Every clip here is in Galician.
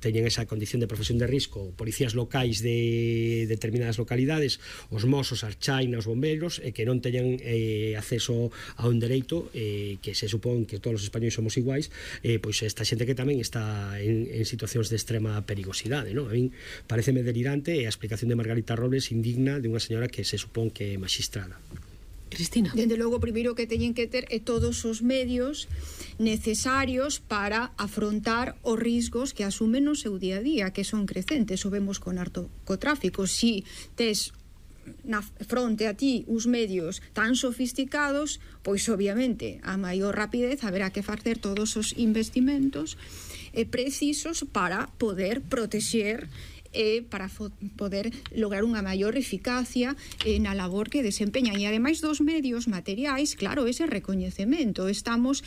teñen esa condición de profesión de risco, policías locais de determinadas localidades, os mozos, as chainas, os bombeiros, e que non teñan acceso a un dereito que se supón que todos os españoles somos iguais, pois esta xente que tamén está en situacións de extrema perigosidade, non? A min pareceme delirante, e a explicación de Margarita Robles indigna de unha señora que se supón que é magistrada. Cristina. Dende logo, o primeiro que teñen que ter é todos os medios necesarios para afrontar os riscos que asumen no seu día a día, que son crecentes. O vemos con narcotráfico. Si tes na fronte a ti os medios tan sofisticados, pois obviamente a maior rapidez haberá que facer todos os investimentos precisos para poder protexer para poder lograr unha maior eficacia na labor que desempeñan. E ademais dos medios materiais, claro, ese recoñecemento. Estamos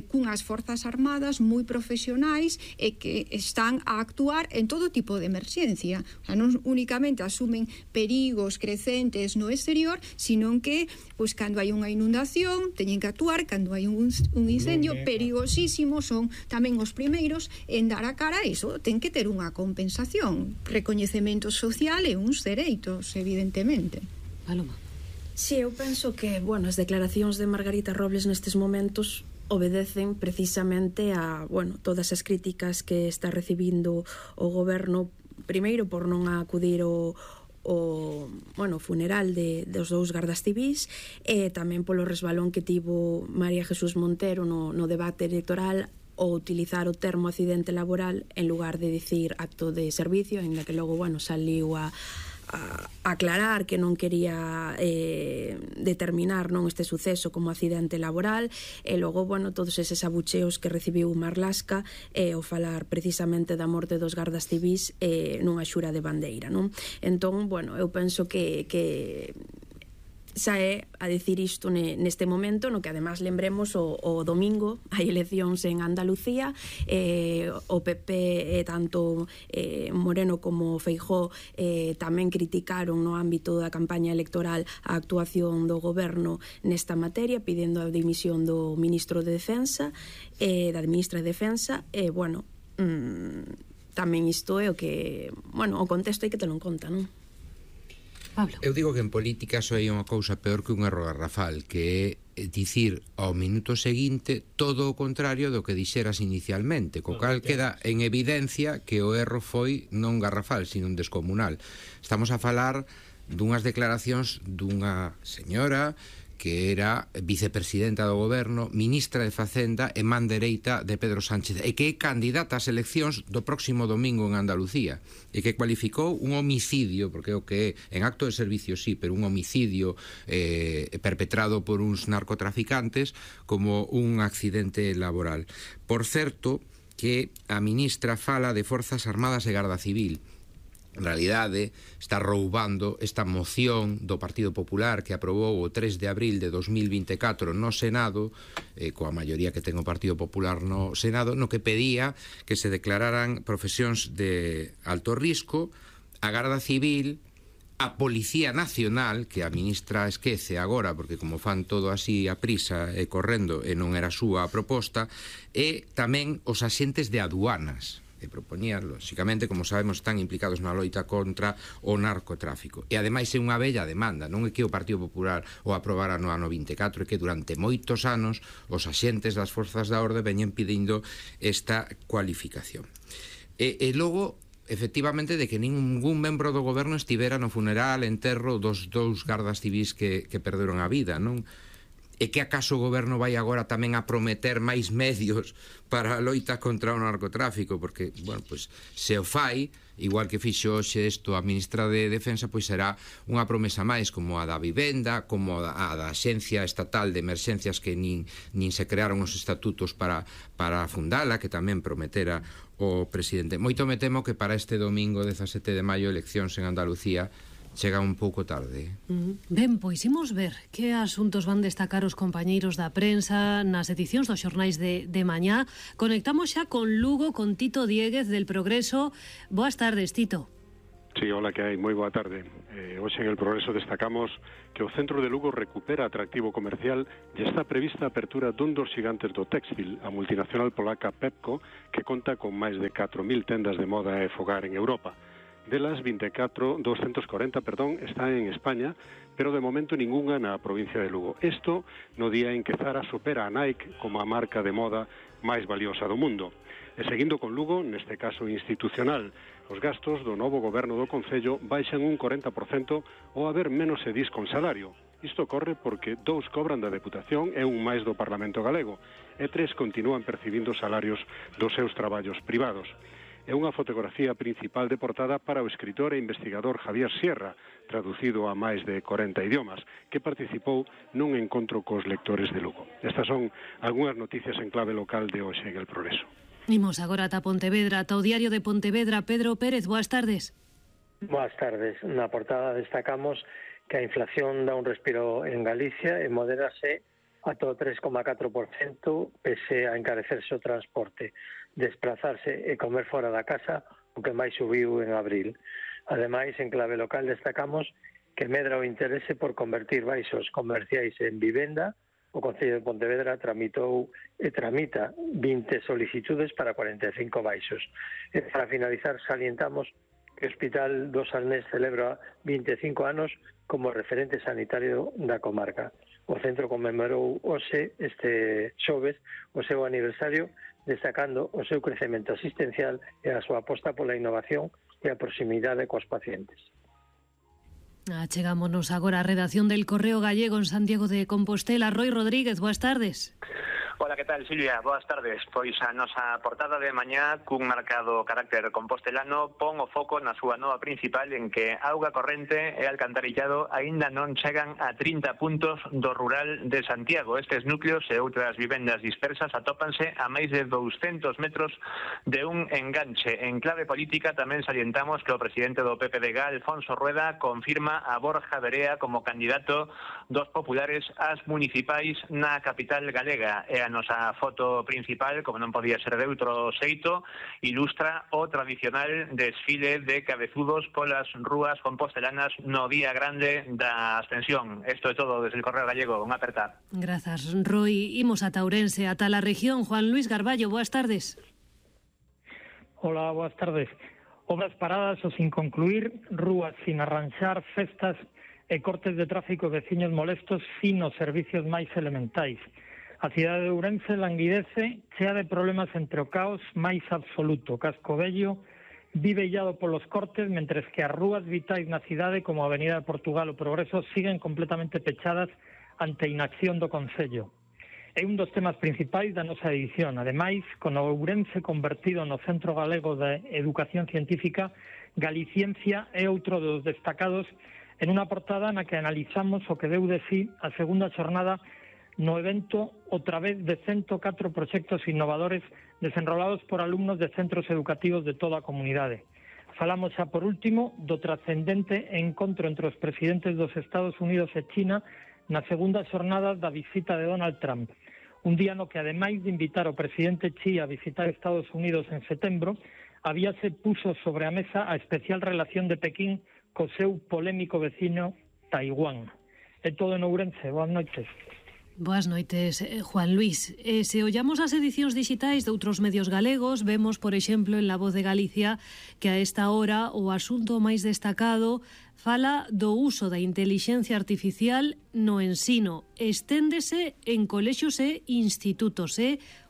cunhas forzas armadas moi profesionais e que están a actuar en todo tipo de emerxencia. O sea, non únicamente asumen perigos crecentes no exterior, sino que, pois, cando hai unha inundación, teñen que actuar, cando hai un incendio perigosísimo, son tamén os primeiros en dar a cara a iso. Ten que ter unha compensación, recoñecemento social e uns dereitos, evidentemente. Paloma. Si, eu penso que, bueno, as declaracións de Margarita Robles nestes momentos obedecen precisamente a, bueno, todas as críticas que está recibindo o goberno, primeiro por non acudir o funeral dos dous gardas civís, e tamén polo resbalón que tivo María Jesús Montero no debate electoral ou utilizar o termo accidente laboral en lugar de dicir acto de servicio, en la que logo, bueno, saliu a aclarar que non quería determinar non este suceso como accidente laboral, e logo, bueno, todos eses abucheos que recibiu Marlaska ao falar precisamente da morte dos gardas civís nunha xura de bandeira, non? Entón, bueno, eu penso que xa é a decir isto neste momento, no que además lembremos o domingo hai eleccións en Andalucía, o PP tanto Moreno como Feijóo tamén criticaron no ámbito da campaña electoral a actuación do goberno nesta materia, pidendo a dimisión do ministro de Defensa, da ministra de Defensa, e bueno, tamén isto é o que, bueno, o contexto hai que telo en conta, non? Pablo. Eu digo que en política só hai unha cousa peor que un erro garrafal, que é dicir ao minuto seguinte todo o contrario do que dixeras inicialmente, co cal queda en evidencia que o erro foi non garrafal, sino un descomunal. Estamos a falar dunhas declaracións dunha señora que era vicepresidenta do goberno, ministra de Facenda e man dereita de Pedro Sánchez, e que é candidata ás eleccións do próximo domingo en Andalucía, e que cualificou un homicidio, porque é o que é, en acto de servicio sí, pero un homicidio perpetrado por uns narcotraficantes, como un accidente laboral. Por certo, que a ministra fala de Forzas Armadas e Garda Civil. En realidade, está roubando esta moción do Partido Popular que aprobou o 3 de abril de 2024 no Senado, coa maioría que ten o Partido Popular no Senado, no que pedía que se declararan profesións de alto risco, a Garda Civil, a Policía Nacional, que a ministra esquece agora, porque como fan todo así a prisa e correndo, e non era súa a proposta, e tamén os axentes de aduanas, que propoñían, lóxicamente, como sabemos, están implicados na loita contra o narcotráfico. E ademais é unha bella demanda, non é que o Partido Popular o aprobara no ano 24, é que durante moitos anos os axentes das forzas da orde veñen pedindo esta cualificación. E logo, efectivamente, de que ningún membro do goberno estivera no funeral, enterro dos dous gardas civís que perderon a vida, non? E que acaso o goberno vai agora tamén a prometer máis medios para a loita contra o narcotráfico, porque, bueno, pois, se o fai, igual que fixo hoxe isto a ministra de Defensa, pois será unha promesa máis, como a da vivenda, como a da Axencia Estatal de Emerxencias, que nin se crearon os estatutos para fundala, que tamén prometera o presidente. Moito me temo que para este domingo 17 de maio eleccións en Andalucía chega un pouco tarde. Ben, pois imos ver que asuntos van destacar os compañeiros da prensa nas edicións dos xornais de mañá. Conectamos xa con Lugo, con Tito Diéguez del Progreso. Boas tardes, Tito. Sí, hola, que hai? Moi boa tarde. Hoxe en El Progreso destacamos que o centro de Lugo recupera atractivo comercial e está prevista a apertura dun dos xigantes do téxtil, a multinacional polaca Pepco, que conta con máis de 4.000 tendas de moda e fogar en Europa. Delas, 240 están en España, pero de momento ningunha na provincia de Lugo. Isto no día en que Zara supera a Nike como a marca de moda máis valiosa do mundo. E seguindo con Lugo, neste caso institucional, os gastos do novo goberno do Concello baixan un 40% ao haber menos edís con salario. Isto ocorre porque 2 cobran da Deputación e un máis do Parlamento Galego, e 3 continúan percibindo salarios dos seus traballos privados. É unha fotografía principal de portada para o escritor e investigador Javier Sierra, traducido a máis de 40 idiomas, que participou nun encontro cos lectores de Lugo. Estas son algunhas noticias en clave local de hoxe en El Progreso. Imos agora ata Pontevedra, ata o Diario de Pontevedra. Pedro Pérez, boas tardes. Boas tardes. Na portada destacamos que a inflación dá un respiro en Galicia e moderase ata o 3,4% pese a encarecerse o transporte, desplazarse e comer fora da casa, o que máis subiu en abril. Ademais, en clave local destacamos que medra o interese por convertir baixos comerciais en vivenda. O Concello de Pontevedra tramitou e tramita 20 solicitudes para 45 baixos. E para finalizar, salientamos que o Hospital do Salnés celebra 25 anos como referente sanitario da comarca. O centro conmemorou hoxe, este xoves, o seu aniversario, destacando o seu crecemento asistencial e a súa aposta pola innovación e a proximidade coas pacientes. Chegámonos agora á redacción del Correo Gallego en Santiago de Compostela. Roy Rodríguez, boas tardes. Hola, que tal, Silvia? Boas tardes. Pois a nosa portada de mañá, cun marcado carácter compostelano, pon o foco na súa nova principal en que auga corrente e alcantarillado aínda non chegan a 30 puntos do rural de Santiago. Estes núcleos e outras vivendas dispersas atópanse a máis de 200 metros de un enganche. En clave política tamén salientamos que o presidente do PPDG, Alfonso Rueda, confirma a Borja Verea como candidato dos populares ás municipais na capital galega. E a nosa foto principal, como non podía ser de outro xeito, ilustra o tradicional desfile de cabezudos polas rúas compostelanas no día grande da Ascensión. Isto é todo desde el Correo Gallego. Unha aperta. Grazas, Roy. Imos ata Ourense, ata la región. Juan Luis Garballo, boas tardes. Hola, boas tardes. Obras paradas ou sin concluir, rúas sin arranxar, festas e cortes de tráfico e veciños molestos sin os servicios máis elementais. A cidade de Ourense languidece, chea de problemas entre o caos máis absoluto. Casco Vello vive illado polos cortes, mentres que as rúas vitais na cidade, como a Avenida de Portugal o Progreso, siguen completamente pechadas ante a inacción do Concello. É un dos temas principais da nosa edición. Ademais, con o Ourense convertido no Centro Galego de Educación Científica, Galiciencia é outro dos destacados en unha portada na que analizamos o que deu de sí a segunda xornada no evento o través de 104 proxectos innovadores desenrolados por alumnos de centros educativos de toda a comunidade. Falamos xa por último do trascendente encontro entre os presidentes dos Estados Unidos e China na segunda xornada da visita de Donald Trump. Un día no que, ademais de invitar o presidente Xi a visitar Estados Unidos en setembro, habíase puso sobre a mesa a especial relación de Pequín co seu polémico vecino Taiwán. É todo en Ourense. Boas noites. Boas noites, Juan Luis. Se ollamos as edicións digitais de outros medios galegos, vemos, por exemplo, en La Voz de Galicia, que a esta hora o asunto máis destacado fala do uso da intelixencia artificial no ensino. Esténdese en colexios e institutos,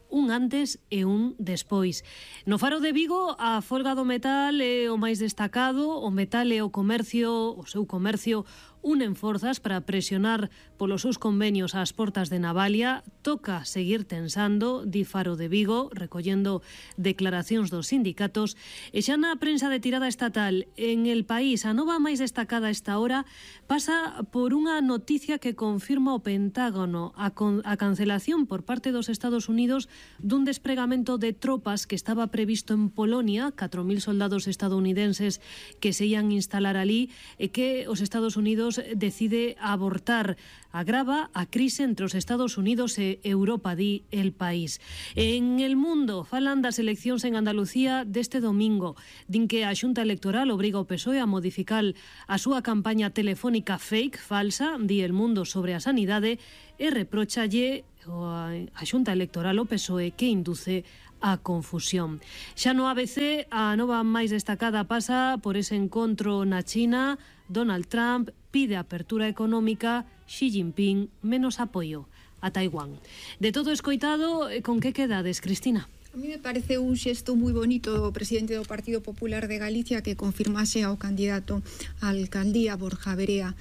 un antes e un despois. No Faro de Vigo, a folga do metal é o máis destacado. O metal e o comercio, o seu comercio, unen forzas para presionar polos seus convenios ás portas de Navalia. Toca seguir tensando, di Faro de Vigo, recollendo declaracións dos sindicatos. E xa na prensa de tirada estatal, en El País, a nova máis destacada esta hora pasa por unha noticia que confirma o Pentágono, a cancelación por parte dos Estados Unidos dun despregamento de tropas que estaba previsto en Polonia, 4.000 soldados estadounidenses que se ian instalar ali, e que os Estados Unidos Unidos decide abortar. Agrava a crise entre os Estados Unidos e Europa, di El País. En El Mundo falan das eleccións en Andalucía deste domingo. Din que a Xunta Electoral obriga o PSOE a modificar a súa campaña telefónica fake, falsa, di El Mundo, sobre a sanidade e reprochalle a Xunta Electoral o PSOE que induce a confusión. Xa no ABC, a nova máis destacada pasa por ese encontro na China. Donald Trump pide apertura económica, Xi Jinping menos apoio a Taiwán. De todo escoitado, con que quedades, Cristina? A mí me parece un xesto moi bonito do presidente do Partido Popular de Galicia que confirmase ao candidato á alcaldía Borja Verea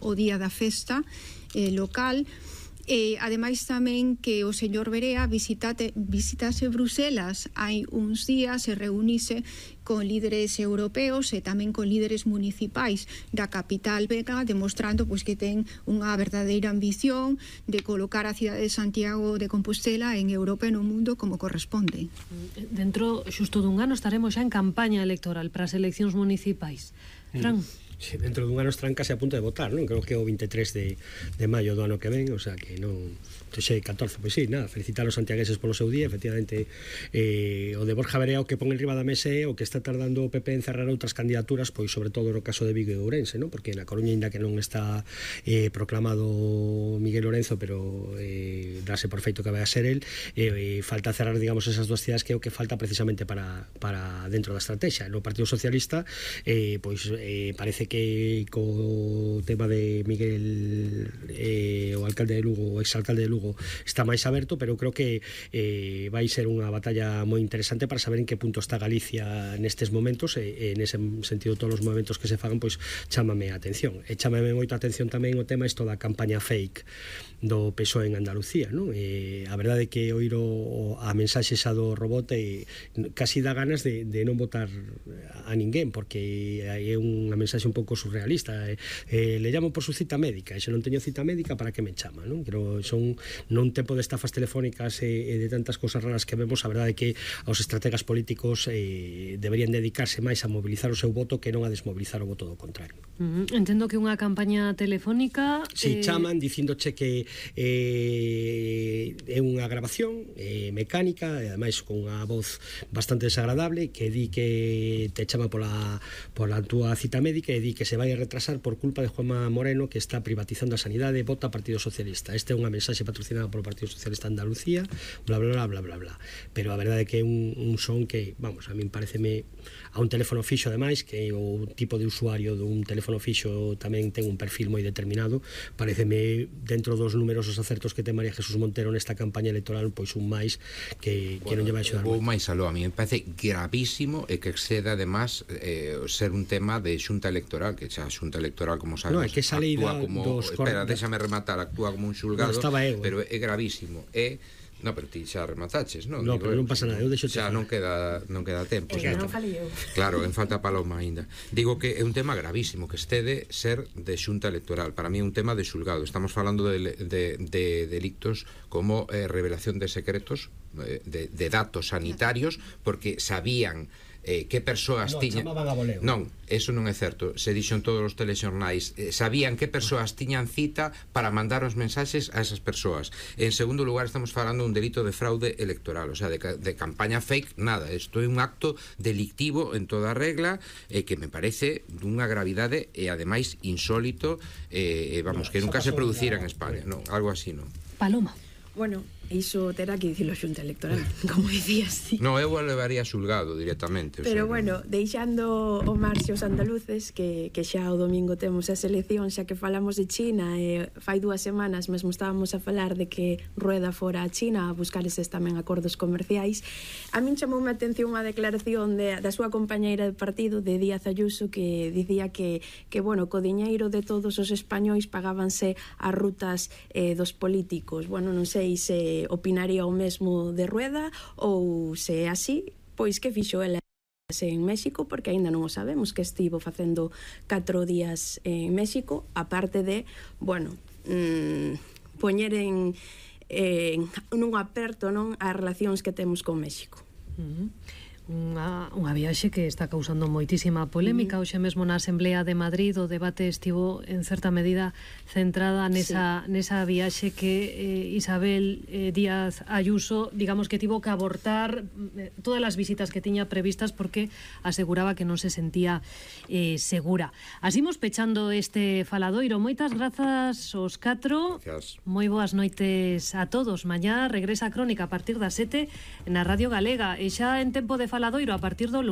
o día da festa local. Ademais tamén que o señor Verea visitase Bruselas hai uns días e reunise con líderes europeos e tamén con líderes municipais da capital belga, demostrando pois que ten unha verdadeira ambición de colocar a cidade de Santiago de Compostela en Europa e no mundo como corresponde. Dentro xusto dun ano estaremos xa en campaña electoral para as eleccións municipais. Fran? Sí, dentro dun ano trancase a punto de votar, non? Creo que é o 23 de maio do ano que ven, o sea que non... Xe 14, pois sí, nada, felicitar os santiagueses polo seu día, efectivamente o de Borja Verea o que pon en riba da mesa o que está tardando o PP en cerrar outras candidaturas, pois sobre todo no caso de Vigo e Ourense, non? Porque na Coruña, ainda que non está proclamado Miguel Lorenzo, pero dase por feito que vai a ser el, falta cerrar, digamos, esas dúas cidades que é o que falta precisamente para dentro da estrategia. No Partido Socialista pois parece que co tema de Miguel o alcalde de Lugo, o exalcalde de Lugo, está máis aberto, pero creo que vai ser unha batalla moi interesante para saber en que punto está Galicia nestes momentos e nese sentido todos os movimentos que se fagan pois chámame a atención. E chámame moito a atención tamén o tema isto da campaña fake do PSOE en Andalucía, non? A verdade é que oíro a mensaxe xa do robot e casi dá ganas de non votar a ninguén, porque é unha mensaxe un pouco surrealista. Le llamo por su cita médica, e se non teño cita médica, para que me chama, non? Pero son non tempo de estafas telefónicas e de tantas cosas raras que vemos. A verdade é que os estrategas políticos deberían dedicarse máis a mobilizar o seu voto que non a desmobilizar o voto do contrario. Entendo que unha campaña telefónica... Si chaman dicíndoche que é unha grabación mecánica, e ademais con unha voz bastante desagradable, que di que te chama pola túa cita médica e di que se vai a retrasar por culpa de Juanma Moreno, que está privatizando a sanidade, vota Partido Socialista. Esta é unha mensaxe patrocinada polo Partido Socialista de Andalucía, bla bla bla bla bla bla. Pero a verdade é que é un son que, vamos, a min pareceme a un teléfono fixo, ademais, que o tipo de usuario dun teléfono fixo tamén ten un perfil moi determinado. Pareceme, dentro dos numerosos acertos que ten María Jesús Montero nesta campaña electoral, pois un máis que non lle vai axudar. Vou máis aló, a mí me parece gravísimo e que exceda, además, ser un tema de xunta electoral, que xa a xunta electoral, como sabes, no, é que esa lei espera, déxame rematar, actúa como un xulgado, pero é gravísimo. No, pero ti xa remataches, non? No, pero non pasa nada, eu deixo xa non queda tempo. Non falei eu. Claro, en falta Paloma aínda. Digo que é un tema gravísimo que estede ser de xunta electoral. Para mí é un tema de xulgado. Estamos falando de delictos como revelación de secretos, de datos sanitarios, porque sabían que persoas tiñan... Non, eso non é certo. Se dixo en todos os telexornais, sabían que persoas tiñan cita para mandar os mensaxes a esas persoas. En segundo lugar, estamos falando dun delito de fraude electoral, o sea, de campaña fake, nada. Isto é un acto delictivo en toda regla, que me parece dunha gravidade e ademais insólito, vamos, que nunca se producira en España, non, algo así, non. Paloma. Bueno, iso terá que dicilo a Xunta Electoral, como dicías ti. No, eu o levaría xulgado directamente. Pero bueno, deixando o marxe os andaluces, que xa o domingo temos as eleccións, xa que falamos de China, e fai 2 semanas mesmo estábamos a falar de que Rueda fora a China a buscar eses tamén acordos comerciais. A min chamoume a atención unha declaración da súa compañeira de partido, de Díaz Ayuso, que dicía que bueno, co diñeiro de todos os españois pagábanse as rutas dos políticos. Bueno, non sei se opinaría o mesmo de Rueda, ou se é así, pois que fixo ela en México, porque aínda non o sabemos, que estivo facendo 4 días en México, aparte de, bueno, poñer nun aperto, non, as relacións que temos con México. unha viaxe que está causando moitísima polémica. Hoxe mesmo na Asamblea de Madrid o debate estivo en certa medida centrada nesa viaxe que Isabel Díaz Ayuso, digamos que tivo que abortar todas as visitas que tiña previstas porque aseguraba que non se sentía segura. Así imos pechando este faladoiro. Moitas grazas aos 4. Moi boas noites a todos. Mañá regresa a Crónica a partir das 7 na Radio Galega e xa en tempo de faladoiro a partir do lunes.